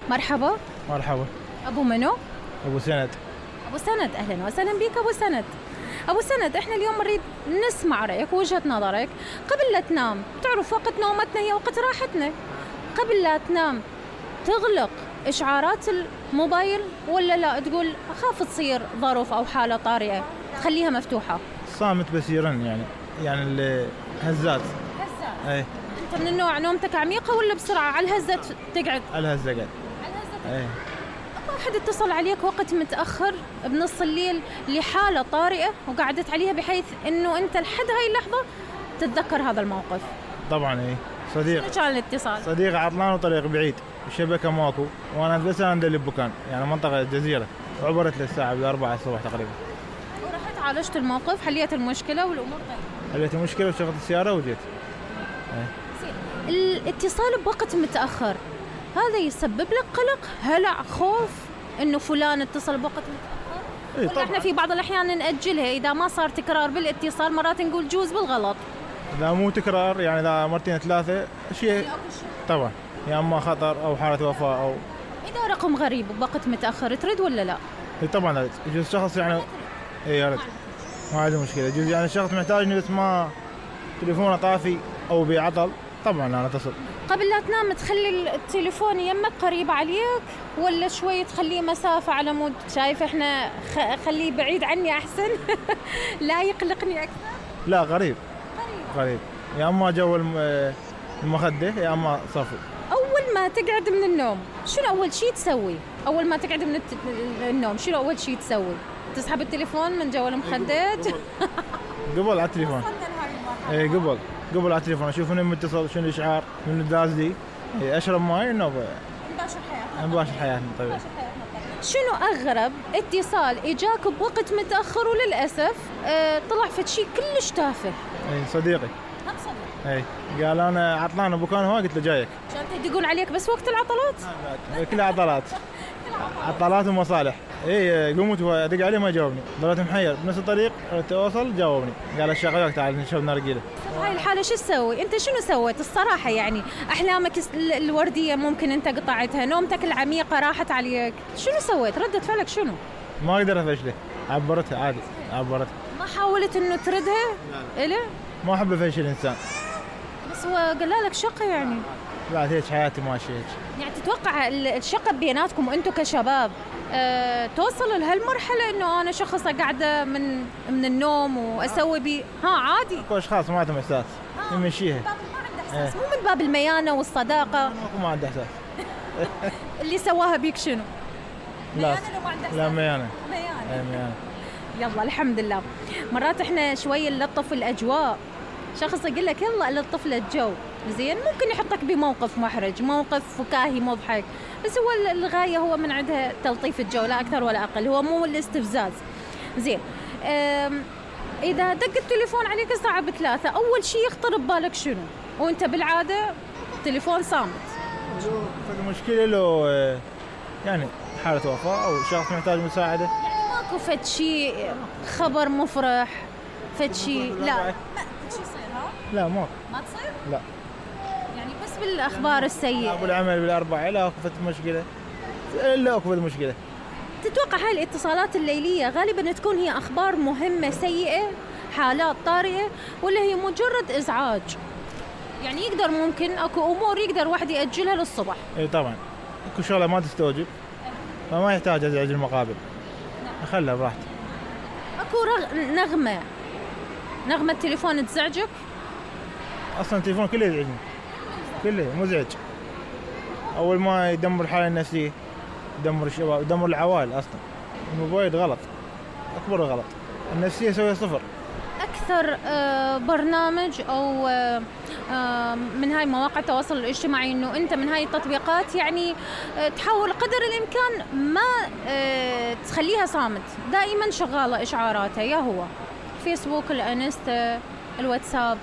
مرحبا. مرحبا. ابو منو؟ ابو سند. ابو سند، اهلا وسهلا بك ابو سند. ابو سند، احنا اليوم نريد نسمع رايك ووجهة نظرك. قبل لا تنام، تعرف وقت نومتنا هي وقت راحتنا، قبل لا تنام تغلق اشعارات الموبايل ولا لا تقول اخاف تصير ظرف او حالة طارئة تخليها مفتوحة؟ صامت بس يرن يعني الهزات. اي. انت من النوع نومتك عميقة ولا بسرعة على الهزة تقعد؟ على الهزة قاعد. على الهزة. اي. واحد اتصل عليك وقت متأخر بنص الليل لحالة طارئة وقعدت عليها بحيث انه انت لحد هاي اللحظة تتذكر هذا الموقف؟ طبعا اي. صديق. شنو كان الاتصال؟ صديق عطلان وطريق بعيد، الشبكة ماكو، وانا بس انا اللي بمكان، يعني منطقة الجزيرة، وعبرت للساعة 4 الصبح تقريبا. ورحت عالجت الموقف، حليت المشكلة والامور طيبة؟ حليت المشكلة وشغلت السيارة وجيت. الاتصال بوقت متأخر هذا يسبب لك قلق، هلع، خوف انه فلان اتصل بوقت متأخر؟ إيه ولا احنا في بعض الاحيان نأجلها اذا ما صار تكرار بالاتصال، مرات نقول جوز بالغلط؟ اذا مو تكرار، يعني اذا مرتين ثلاثة شيء طبعا، يا اما خطر او حالة وفاة او اذا رقم غريب بوقت متأخر ترد ولا لا؟ اي طبعا يجوز شخص يعني اي رد، ما عنده مشكلة، يجوز يعني الشخص محتاج انه بس ما تليفونه طافي او بعطل، طبعا انا اتصل. قبل لا تنام تخلي التليفون يمك قريب عليك ولا شوي تخليه مسافة على مود شايف احنا خليه بعيد عني احسن؟ لا يقلقني اكثر؟ لا قريب. قريب، يا اما جو المخدة يا اما صفو. اول ما تقعد من النوم شنو اول شيء تسوي؟ اول ما تقعد من النوم شنو اول شيء تسوي؟ تسحب التليفون من جو المخدات؟ قبل على التليفون. اي قبل على التليفون اشوف انه متصل، شنو الاشعار، من داز لي، اشرب ماي انه نباشر حياتنا طبيعي. شنو اغرب اتصال اجاك بوقت متاخر وللاسف طلع فد شيء كلش تافه؟ اي صديقي. اي قال انا عطلان بمكان هواي، قلت له جايك. عشان يدقون عليك بس وقت العطلات؟ كلها عطلات. عطلات ومصالح. اي قمت وادق عليه ما جاوبني، ضليت محير بنفس الطريق، اوصل جاوبني، قال الشغلك تعال نشرب نرجيله. هاي الحاله شو تسوي؟ انت شنو سويت الصراحه؟ يعني احلامك الورديه ممكن انت قطعتها، نومتك العميقه راحت عليك، شنو سويت؟ ردة فعلك شنو؟ ما اقدر افشله، عبرتها عادي، عبرتها. ما حاولت انه تردها؟ لا ما احب افشل الانسان، بس هو قال لك شقه يعني. بعد هيك حياتي ماشيه هيك. يعني تتوقع الشقه بيناتكم وانتم كشباب توصل لهالمرحله انه انا شخص قاعده من النوم واسوي بي عادي؟ اكو اشخاص ما عندهم احساس يمشيها، ما عنده احساس، مو من باب الميانه والصداقه. ما عنده احساس. اللي سواها بيك شنو؟ لا ميانه. لا ميانه. ميانه. يلا الحمد لله. مرات احنا شوي نلطف الاجواء، شخص يقول لك يلا نلطف له الجو، زين ممكن يحطك بموقف محرج، موقف فكاهي مضحك، بس هو الغايه هو من عندها تلطيف الجو لا اكثر ولا اقل، هو مو الاستفزاز. زين اذا دق التليفون عليك الساعه ب3 اول شيء يخطر ببالك شنو؟ وانت بالعاده التليفون صامت. المشكله لو يعني حاله وفاه او شخص محتاج مساعده، يعني ماكو فد شيء خبر مفرح، فد شيء لا شيء يصير؟ لا ما تصير؟ لا، يعني بس بالاخبار السيئه. ابو العمل بالاربعه لا اكو مشكله، لا اكو مشكله. تتوقع هاي الاتصالات الليليه غالبا تكون هي اخبار مهمه سيئه، حالات طارئه، ولا هي مجرد ازعاج؟ يعني يقدر ممكن اكو امور يقدر واحد ياجلها للصبح. اي طبعا اكو شغله ما تستوجب فما يحتاج ازعج المقابل، خلها براحته. اكو نغمه التليفون تزعجك؟ اصلا التليفون كله يزعجني، كله مزعج. اول ما يدمر الحاله النفسيه، يدمر الشباب، يدمر العوائل. اصلا الموبايل غلط، اكبر غلط، النفسيه يسوي صفر. اكثر برنامج او من هاي مواقع التواصل الاجتماعي انه انت من هاي التطبيقات يعني تحاول قدر الامكان ما تخليها صامت، دائما شغاله اشعاراتها، يا هو فيسبوك، الانستا، الواتساب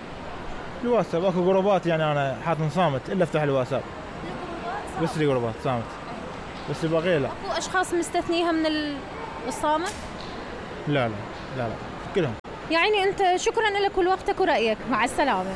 اكو جروبات يعني انا حاط صامت الا افتح الواتساب بس الجروبات صامت، بس البقيه لا. اكو اشخاص مستثنيها من الصامت؟ لا كلهم. يعني انت شكرا لك ولوقتك ورأيك، مع السلامه.